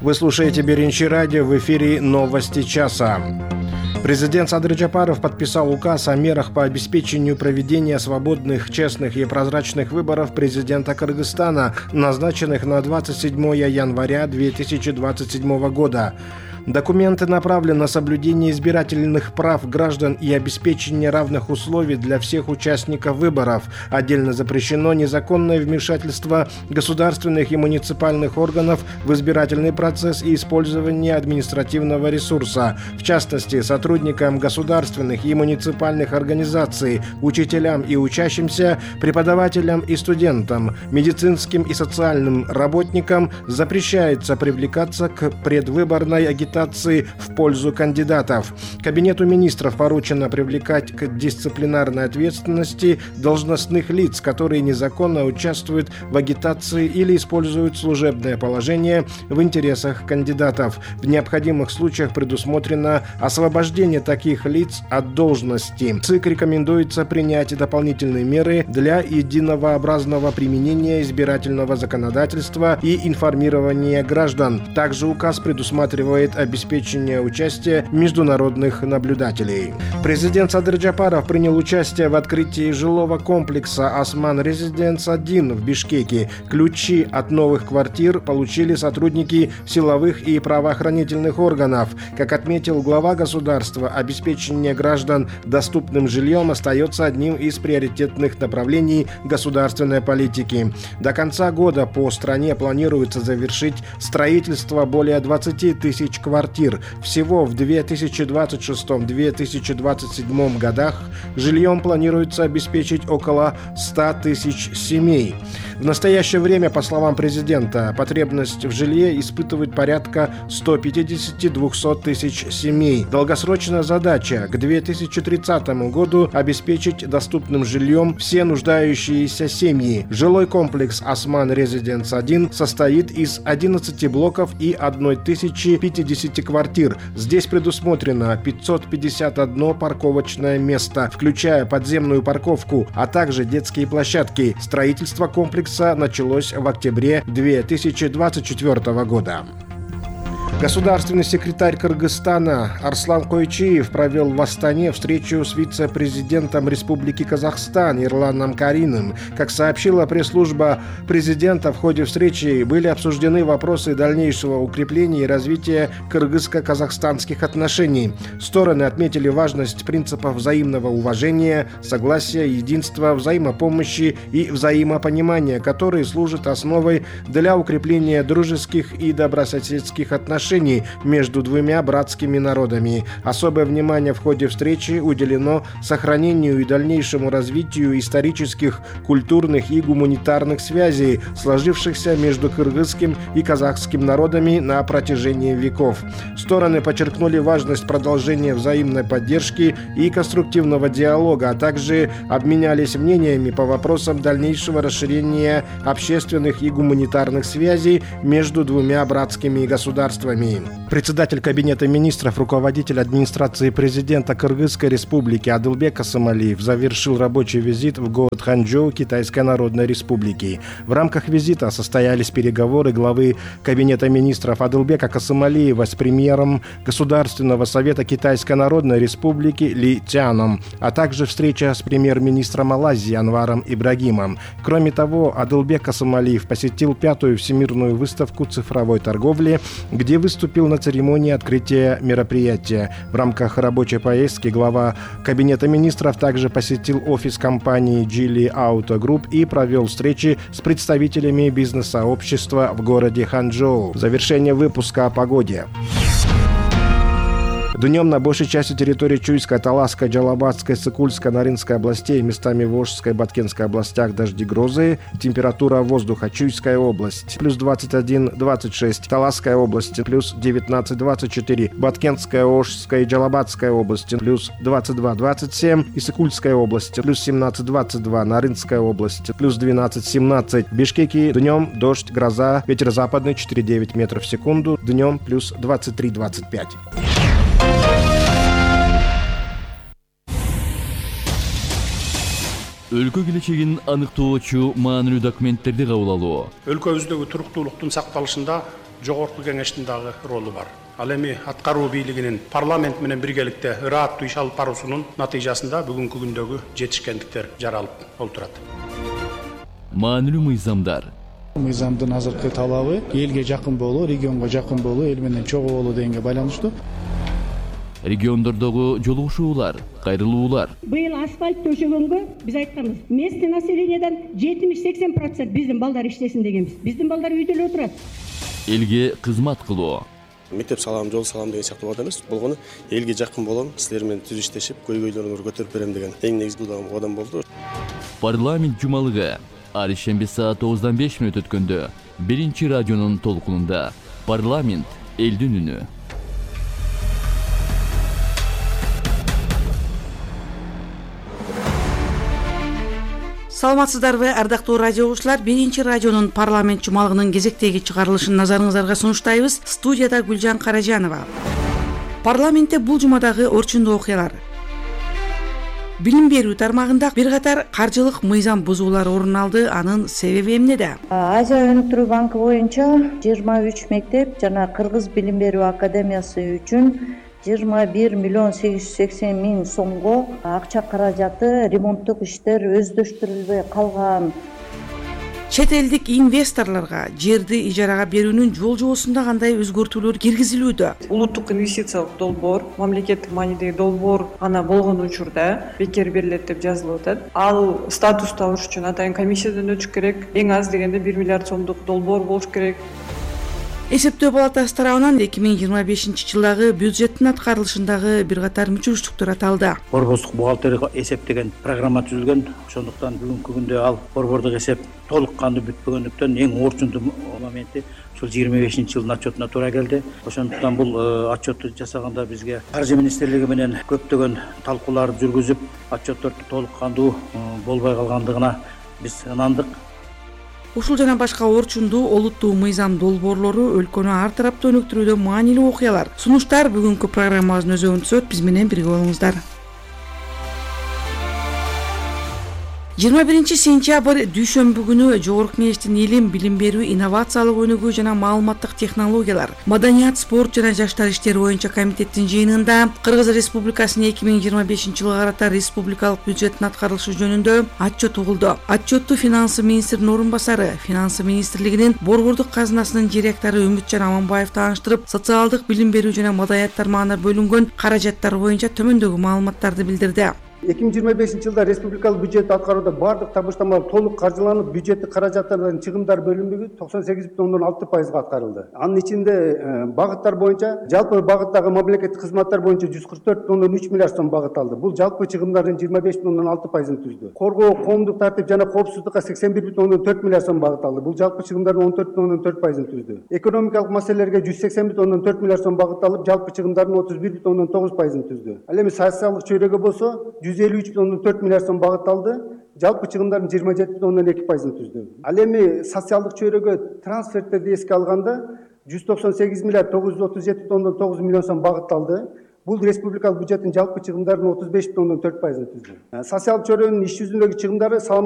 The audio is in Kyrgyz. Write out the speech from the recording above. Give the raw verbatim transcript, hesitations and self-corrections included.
Вы слушаете Биринчи радио, в эфире новости часа. Президент Садыр Джапаров подписал указ о мерах по обеспечению проведения свободных, честных и прозрачных выборов президента Кыргызстана, назначенных на двадцать седьмое января две тысячи двадцать седьмого года. Документы направлены на соблюдение избирательных прав граждан и обеспечение равных условий для всех участников выборов. Отдельно запрещено незаконное вмешательство государственных и муниципальных органов в избирательный процесс и использование административного ресурса. В частности, сотрудникам государственных и муниципальных организаций, учителям и учащимся, преподавателям и студентам, медицинским и социальным работникам запрещается привлекаться к предвыборной агитации в пользу кандидатов. Кабинету министров поручено привлекать к дисциплинарной ответственности должностных лиц, которые незаконно участвуют в агитации или используют служебное положение в интересах кандидатов. В необходимых случаях предусмотрено освобождение таких лиц от должности. ЦИК рекомендуется принять дополнительные меры для единообразного применения избирательного законодательства и информирования граждан. Также указ предусматривает обеспечение участия международных наблюдателей. Президент Садыр Джапаров принял участие в открытии жилого комплекса «Осман Резиденс один» в Бишкеке. Ключи от новых квартир получили сотрудники силовых и правоохранительных органов. Как отметил глава государства, обеспечение граждан доступным жильем остается одним из приоритетных направлений государственной политики. До конца года по стране планируется завершить строительство более двадцати тысяч квартир. Всего в две тысячи двадцать шестом — две тысячи двадцать седьмом годах жильем планируется обеспечить около ста тысяч семей. В настоящее время, по словам президента, потребность в жилье испытывает порядка ста пятидесяти — двухсот тысяч семей. Долгосрочная задача к две тысячи тридцатому году обеспечить доступным жильем все нуждающиеся семьи. Жилой комплекс «Осман Резиденс один» состоит из одиннадцати блоков и тысячи пятидесяти квартир. Здесь предусмотрено пятьсот пятьдесят одно парковочное место, включая подземную парковку, а также детские площадки. Строительство комплекса началось в октябре две тысячи двадцать четвёртого года. Государственный секретарь Кыргызстана Арслан Койчиев провел в Астане встречу с вице-президентом Республики Казахстан Ирланом Кариным. Как сообщила пресс-служба президента, в ходе встречи были обсуждены вопросы дальнейшего укрепления и развития кыргызско-казахстанских отношений. Стороны отметили важность принципов взаимного уважения, согласия, единства, взаимопомощи и взаимопонимания, которые служат основой для укрепления дружеских и добрососедских отношений между двумя братскими народами. Особое внимание в ходе встречи уделено сохранению и дальнейшему развитию исторических, культурных и гуманитарных связей, сложившихся между кыргызским и казахским народами на протяжении веков. Стороны подчеркнули важность продолжения взаимной поддержки и конструктивного диалога, а также обменялись мнениями по вопросам дальнейшего расширения общественных и гуманитарных связей между двумя братскими государствами. Председатель Кабинета министров, руководитель администрации президента Кыргызской республики Адылбек Касымалиев завершил рабочий визит в город Ханчжоу Китайской Народной Республики. В рамках визита состоялись переговоры главы Кабинета министров Адылбека Касымалиева с премьером Государственного совета Китайской Народной Республики Ли Цяном, а также встреча с премьер-министром Малайзии Анваром Ибрагимом. Кроме того, Адылбек Касымалиев посетил пятую всемирную выставку цифровой торговли, где выступил на церемонии открытия мероприятия. В рамках рабочей поездки глава Кабинета министров также посетил офис компании Geely Auto Group и провел встречи с представителями бизнес-сообщества в городе Ханчжоу. Завершение выпуска о погоде. Днем на большей части территории Чуйской, Таласской, Джалабатской, Сыкульской, Нарынской областей, местами в Волжской и Баткенской областях дожди, грозы. Температура воздуха: Чуйская область плюс двадцать один — двадцать шесть, Таласская область плюс девятнадцать — двадцать четыре, Баткенская, Волжская и Джалабатская области плюс двадцать два — двадцать семь, и Сыкульская область плюс семнадцать — двадцать два, Нарынская область плюс двенадцать — семнадцать. В Бишкеке днем дождь, гроза, ветер западный четыре — девять метров в секунду, днем плюс двадцать три — двадцать пять. Өлкө келечегин аныктоочу маанилүү документтерди кабыл алуу. Өлкөбүздөгү туруктуулуктун сакталышында жогорку кеңештин дагы ролу бар. Ал эми аткаруу бийлигинин парламент менен биргеликте ырааттуу иш алып баруусунун натыйжасында бүгүнкү күндөгү жетишкендиктер жаралып олтурат. Маанилүү мыйзамдар. Мыйзамдын азыркы талабы элге жакын болуу, регионго жакын болуу, эл менен чогуу болуу дегенге байланыштуу. Региондордогу жолугушуулар, кайрылуулар. Быйыл асфальт төшөгөнгө биз айтканбыз. Местный населениядан жетимиш сексен процент биздин балдар иштесин дегенбиз. Биздин балдар үйдө эле отурат. Элге кызмат кылуу. Мектеп салам, жол салам деген сыяктуу бат эмес. Болгону элге жакын болом, силер менен түз иштешип, көйгөйлөрүңөрдү көтөрүп берем деген эң негизги кадам болду. Парламент жумалыгы ар ишемби саат тогуздан беш мүнөт өткөндө биринчи радионун толкунунда парламент элдин үнү. Саламатсыздарбы, ардактуу радио угуучулар? Биринчи радионун парламент жумалыгынын кезектеги чыгарылышын назарыңыздарга сунуштайбыз. Студияда Гүлжан Каражанова. Парламентте бул жумадагы орчундуу окуялар. Билим берүү тармагында бир катар каржылык мыйзам бузуулар орун алды. Анын себеби эмнеде? Азия өнүктүрүү банкы боюнча жыйырма үч мектеп жана Кыргыз билим берүү академиясы үчүн жыйырма бир миллион сегиз жүз сексен миң сомго акча каражаты ремонттук иштер өздөштүрүлбөй калган. Чет элдик инвесторлорго жерди ижарага берүүнүн жол жобосунда кандай өзгөртүүлөр киргизилүүдө? Улуттук инвестициялык долбоор, мамлекеттик маанидеги долбоор гана болгон учурда бекер берилет деп жазылып атат. Ал статусту алыш үчүн атайын комиссиядан өтүш керек. Эң аз дегенде бир миллиард сомдук долбоор болуш керек. Эсептөө палатасы тарабынан эки миң жыйырма бешинчи жылдагы бюджеттин аткарылышындагы бир катар мүчүрүштүктөр аталды. Борбордук бухгалтерия эсептеген программа түзүлгөн. Ошондуктан бүгүнкү күндө ал борбордук эсеп толук кандуу бүтпөгөндүктөн эң орчундуу моменти ушул жыйырма бешинчи жылдын отчетуна туура келди. Ошондуктан бул отчетту жасаганда бизге Каржы министрлиги менен көптөгөн талкууларды жүргүзүп, отчетторду толук кандуу болбой калгандыгына биз ынандык. Ушул жана башка орчундуу олуттуу мыйзам долбоорлору өлкөнү ар тараптуу өнүктүрүүдө маанилүү окуялар. Сунуштар бүгүнкү программабыздын өзөгүн түзөт. Биз менен бирге болуңуздар. жыйырма биринчи сентябрь дүйшөмбү күнү Жогорку Кеңештин илим, билим берүү, инновациялык өнүгүү жана маалыматтык технологиялар, маданият, спорт жана жаштар иштери боюнча комитеттин жыйынында Кыргыз Республикасынын эки миң жыйырма бешинчи жылга карата республикалык бюджеттин аткарылышы жөнүндө отчет угулду. Отчетту финансы министринин орун басары, финансы министрлигинин борбордук казынасынын директору Үмүтжан Аманбаев тааныштырып, социалдык билим берүү жана маданият тармагына бөлүнгөн каражаттар боюнча төмөндөгү маалыматтарды билдирди. эки миң жыйырма бешинчи жылда республикалык бюджетти аткарууда бардык табыштамалар толук каржыланып, бюджеттик каражаттардан чыгымдар бөлүнмөгү токсон сегиз бүтүн ондон алты пайызга аткарылды. Анын ичинде багыттар боюнча жалпы багыттагы мамлекеттик кызматтар боюнча жүз кырк төрт бүтүн ондон үч миллиард сом багытталды. Бул жалпы чыгымдардын жыйырма беш бүтүн ондон алты пайызын түздү. Коргоо, коомдук тартип жана коопсуздукка сексен бир бүтүн ондон төрт миллиард сом багытталды. Бул жалпы чыгымдардын он төрт бүтүн ондон төрт пайызын түздү. Экономикалык маселелерге жүз сексен бүтүн ондон төрт миллиард сом багытталып, жалпы чыгымдардын отуз бир бүтүн ондон тогуз пайызын түздү. Ал эми социалдык чөйрөгө болсо жүз элүү үч бүтүн ондон төрт миллиард сом багытталды. Жалпы чыгымдардын жыйырма жети бүтүн ондон эки пайызын түздү. Ал эми социалдык чөйрөгө трансферттерди эске алганда жүз токсон сегиз миллиард тогуз жүз отуз жети бүтүн ондон тогуз миллион сом багытталды. Бул республикалык бюджеттин жалпы чыгымдарынын отуз беш бүтүн ондон төрт пайызын түздү. Социалдык чөйрөнүн иш жүзүндөгү чыгымдары